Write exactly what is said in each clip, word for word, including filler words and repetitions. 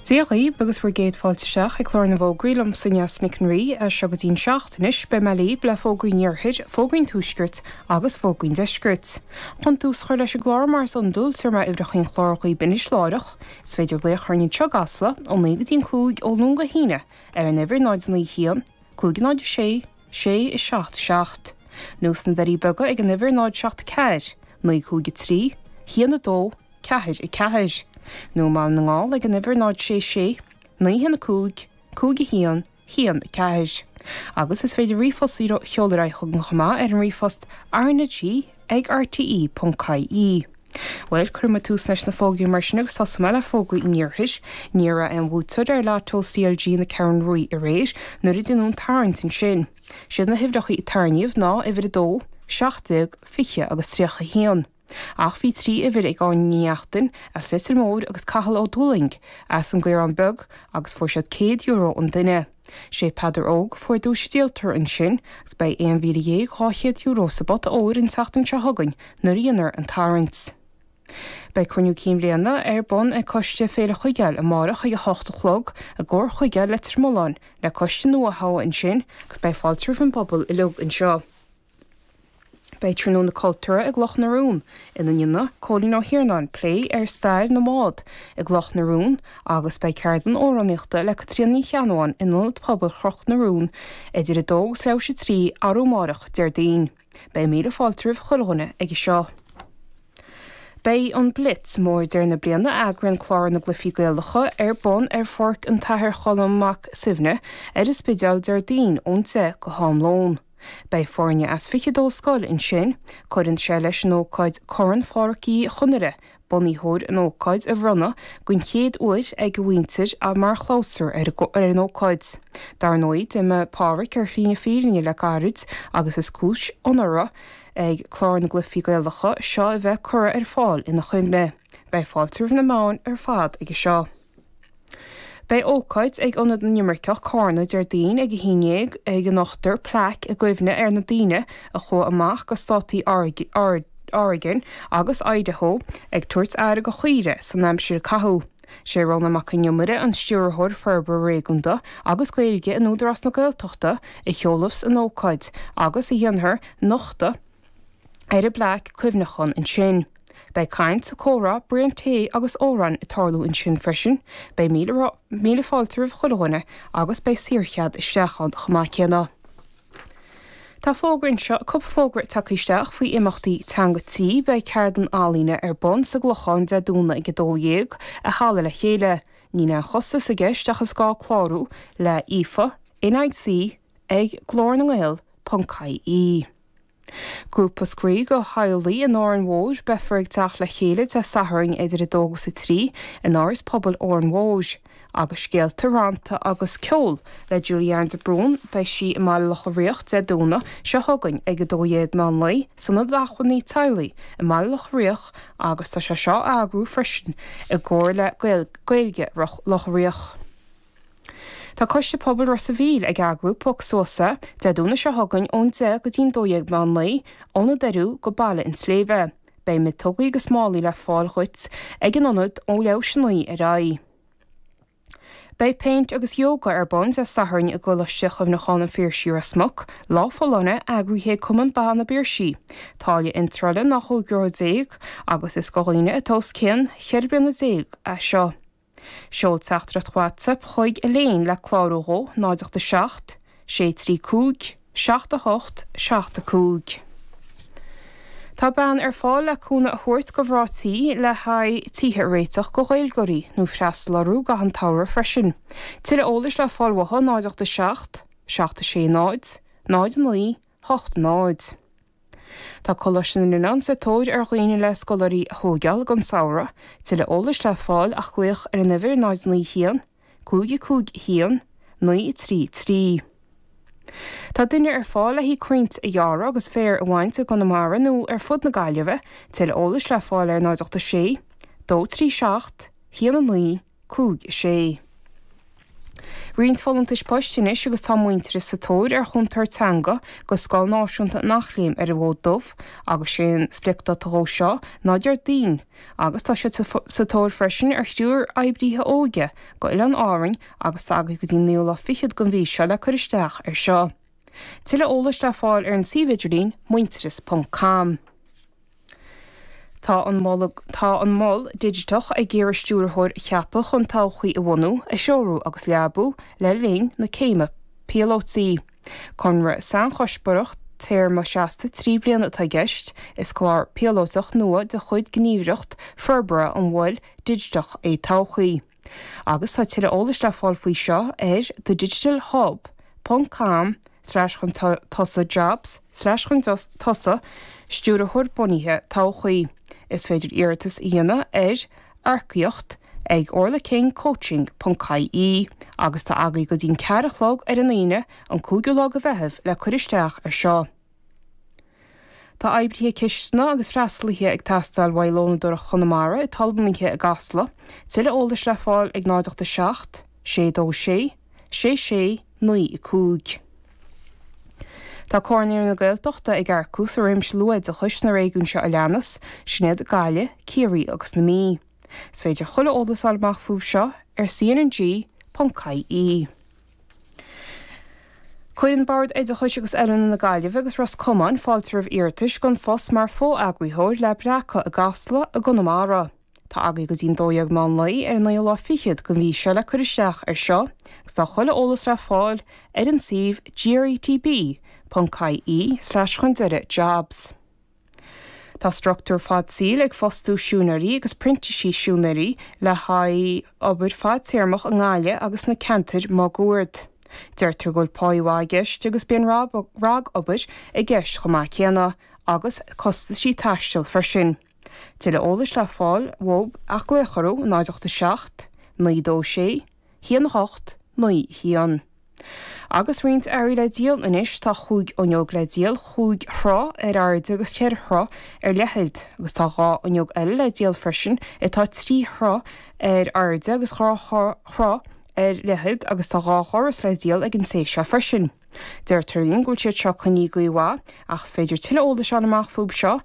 Dia dhaoibh agus bhur gcéad fáilte isteach ag clár na bhfógraí liomsa Neasa Nic an Rí as seo go dtí'n seacht anois beidh mé libh le fógraí an iarthair, fógraí an tuaiscirt agus fógraí an deiscirt. Chun tús a chur leis an gclár mar is iondúil tabharfaidh mé uimhreacha an chláir dhaoibh anois láithreach, is féidir glaoch orainn anseo i gCasla ó naoi go dtí'n cúig ó Luan go hAoine ar an uimhir náid naoi haon, cúig náid a sé, sé a seacht seacht. Nó sna Doirí Beaga ag an uimhir náid seacht ceathair, naoi cúig a trí, haon a dó, ceathair a ceathair. Nó i mBaile na nGall ag an uimhir náid sé sé, naoi haon a cúig, cúig a haon, haon a ceathair. Agus is féidir ríomhphost a sheoladh ar aghaidh chugainn chomh maith ar an ríomhphost RnaG ag rte ponc ie. Bhuel, cuirfidh mé tús leis na fógraí mar sin agus tosóidh mé le fógraí an iarthair. Ní raibh aon bhuaiteoir ar Lotto CLG na Ceathrún Rua aréir nuair a deineadh an tarraingt ansin. Siad na huimhreacha a tarraingíodh ná uimhir a dó, seacht déag, fiche agus tríocha a haon. Ach bhí trí uimhir ag Áine Ní Neachtain as Leitir Móir agus Cathal Ó Dúlaing as an gCaorán Beag agus fuair siad céad euro an duine. Sé Peadar Óg a fuair duais díoltóra ansin agus beidh aon mhíle dhéag dhá chéad euro sa bpota óir an tseachtain seo chugainn nuair a dhéanfar an tarraingt. Beidh cruinniú cinn bhliana ar bun ag Coiste Féile Chuigéil amárach ag a hocht a chlog i gComhar Chuigéil Leitir Mealláin le coiste nua a thoghadh ansin agus beidh fáilte roimh an bpobal uilig anseo. Beidh Tráthnóna Cultúrtha i gCloch na Rún, ina ndéanfaidh Cóilín Ó hIarnáin plé ar stair na mbád i gCloch na Rún agus beidh ceardlann amhránaíochta le Caitríona Ní Cheannabháin in Ionad Pobail Chnoc na Rún idir a dó agus leathuair tar éis a trí arú amárach, Déardaoin. Beidh míle fáilte roimh chuile dhuine aige seo. Beidh an Blitz mór deireadh na bliana a eagraíonn Clár na gCluichí Gaelacha ar bun ar Pháirc an tAthair Cholm Mac Suibhne ar an Spidéal Déardaoin ón deich go ham lóin. Beidh foirne as fiche dó scoil ansin, cuireann sé leis an ócáid Corn Phádraic Uí Chonaire, bunaitheoir an ócáid a bhronnadh den chéad uair ag a mhuintir mar chlabhsúr ar an ócáid. Dar ndóigh, d'imigh Pádraic ar shlí na fírinne le gairid agus is cúis onóra ag Clár na gCluichí Gaelacha seo a bheith curtha ar fáil ina chuimhne. Beidh fáilte roimh na meáin ar fad aige seo. Beidh ócáid ag Ionad na nImirceach Carna Déardaoin ag a haon déag ag a nochtfar plaic i gcuimhne ar na daoine a chuaigh amach go státaí Oregon agus Idaho ag tabhairt aire do chaoire san aimsir a caitheadh. Sé Rónán Mac Con Iomaire an Stiúrthóir Forbartha Réigiúnda agus Gaeilge in Údarás na Gaeltachta a sheolfas an ócáid agus a dhéanfar nochtadh ar an bplaic cuimhneacháin ansin. Beidh caint, comhrá, braon tae agus amhráin ag tarlú ansin freisin, beidh míle míle fáilte roimh chuile dhuine agus beidh saorchead isteach ann chomh maith céanna. Tá fógra anseo, cúpla fógra tagtha isteach faoi imeachtaí teanga tí, beidh ceardlann ealaíne ar bun sa gClochán Dé Domhnaigh ag a dó dhéag i Halla Le Chéile. Níl aon chostas i gceist ach is gá clárú le Aoife, NIC ag Glór na nGael ponc ie. Grúpa spraoi do theaghlaigh in Árainn Mhór, beifear ag teacht le chéile Dé Sathairn idir a dó agus a trí in Áras Pobail Árainn Mhór. Agus scéalta, rannta agus ceol le Julianne de Brún, beidh sí i mBaile Locha Riach Dé Domhnaigh seo chugainn ag a dó dhéag meán lae san Ionad Acmhainní Teaghlaigh i mBaile Locha Riach agus tá sé seo á eagrú freisin i gcomhar le Gaeilge Locha Riach. Tá Coiste Pobail Ros a' Mhíl ag eagrú Pioc Suas É Dé Domhnaigh seo chugainn ón deich go dtí'n dó dhéag meán lae, ó na Doiriú go Baile an tSléibhe. Beidh miotógaí agus málaí le fáil dhuit ag an ionad ó leathuair tar éis a naoi ar aghaidh. Beidh péint agus yoga ar bun Dé Sathairn i gColáiste Chuimhneacháin an Phiarsaigh Ros Muc, Lá Folláine eagraithe ag Cumann Ban na bPiarsaigh. Táille iontrála ná chúig euro déag agus is do dhaoine atá os cionn cheithre bliana déag é seo. Seol teachtaireacht WhatsApp chuig Elaine le clárú dhó náid ocht a seacht, sé trí cúig, seacht a hocht, seacht a cúig. Tá bean ar fáil le cúnamh a thabhairt do mhná tí le haghaidh tithe a réiteach do Ghaeilgeoirí nó freastal orthu i gcaitheamh an tsamhraidh freisin. Tuilleadh eolais le fáil uathu náid ocht a seacht, seacht a sé náid, náid a naoi, hocht náid. Tá Coláiste na nOileán sa tóir ar dhaoine le scoláirí a thógáil don samhradh, tuilleadh eolais le fáil ach glaoch ar an uimhir náid naoi haon, cúig a cúig haon, naoi a trí trí. Tá duine ar fáil le haghaidh crainnte a ghearradh agus féar a bhaint i gConamara nó ar fud na Gaillimhe, tuilleadh eolais le fáil ar náid ocht a sé, dó trí seacht, haon a naoi, cúig a sé. Roinnt folúntais poist anois agus tá Muintearas sa tóir ar chúntóir teanga go Scoil Náisiúnta an Eachléim ar an bhFód Dubh agus sé an spriocdáta dhó seo ná Déardaoin agus tá siad sa tóir freisin ar thriúr oibrithe óige go Oileáin Árainn agus tá agaibh go dtí naoú lá fichead den mhí seo le cur isteach ar seo. Tuilleadh eolais le fáil ar an suíomh idirlín muintearas ponc com. Tá an mol tá an Mol Digiteach ag iarraidh stiúrthóir a cheapadh chun todhchaí a bhunú, a threorú agus leabú le linn na céime píolótaí. Conradh sainchuspóireach téarma seasta trí bliana atá i gceist, is clár píolótach nua de chuid Gníomhaireacht Forbartha an Mhoil Dhigiteach é Todhchaí. Agus tá tuilleadh eolais le fáil faoi seo ar thedigitalhub ponc com slash chun tosaigh jobs slash chun tosaigh stiúrthóir bunaithe todhchaí. Is féidir iarratas a dhéanamh ar earcaíocht ag orlakingcoaching ponc ie agus tá agaibh go dtí'n ceathair a chlog ar an Aoine an cúigiú lá de Mheitheamh le cur isteach ar seo. Tá oibrithe cistine agus freastalaithe ag teastáil uaidh Lónadóireacht Chonamara atá lonnaithe i gCasla, tuilleadh eolais le fáil ag náid ocht a seacht, sé dó sé, sé sé, naoi cúig. Tá Comhar Naíonraí na Gaeltachta ag earcú sa réimse luathoideachais sna réigiúin seo a leanas, sin iad Gaillimh, Ciarraí agus na Mí. Is féidir chuile eolas a fháil amach fúthu seo ar cnng ponc ie. Cuireann Bord Oideachais agus Oiliúna na Gaillimhe agus Ros Comáin fáilte roimh iarratais don phost mar fho-eagraitheoir le Breacadh i gCasla i gConamara. Tá agaibh go dtí'n dó dhéag meán lae ar an naoú lá fichead den mhí seo le cur isteach ar seo agus tá chuile eolas le fáil ar an suíomh gretb ponc ie slash chun deireadh jobs. Tá struchtúr fad saoil ag fostú siúinéirí agus printísí siúinéirí le haghaidh obair fadtéarmach i nGaillimh agus sna ceantair máguaird. Deirtear go bhfuil pá mhaith i gceist agus bíonn ragobair i gceist chomh maith céanna agus costaisí taistil freisin. Tuilleadh eolais le fáil uathu ach glaoch orthu náid ocht a seacht, naoi dó sé, haon a hocht, naoi haon. Agus roinnt earraí le díol anois, tá chúig fhuinneog le díol, chúig throigh ar airde agus ceithre throigh ar leithead, agus tá dhá fhuinneog eile le díol freisin atá trí throigh ar airde agus dhá throigh ar leithead agus tá dhá dhoras le díol ag an té seo freisin. Deirtear linn go bhfuil siad seo coinnithe go mhaith ach is féidir tuilleadh eolais a fháil amach fúthu seo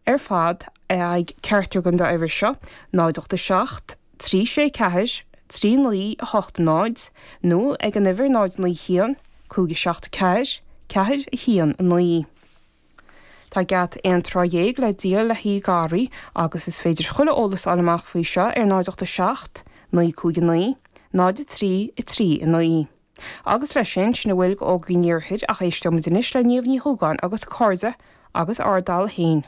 ar fad ag ceachtar den dá uimhir seo, náid ocht a seacht, trí sé ceathair, trí naoi a hocht náid, nó ag an uimhir náid naoi haon, cúig a seacht ceathair, ceathair a haon a naoi. Tá geata aon troigh dhéag le díol le hAodh Garraí agus is féidir chuile eolas a fháil amach faoi seo ar náid ocht a seacht, naoi cúig a naoi, náid a trí, a trí a naoi. Agus leis sin, sin a bhfuil d'fhógraí an iarthair ach éisteoimid anois le Niamh Ní Dhúgáin agus a cairde agus Ard Dalla féin.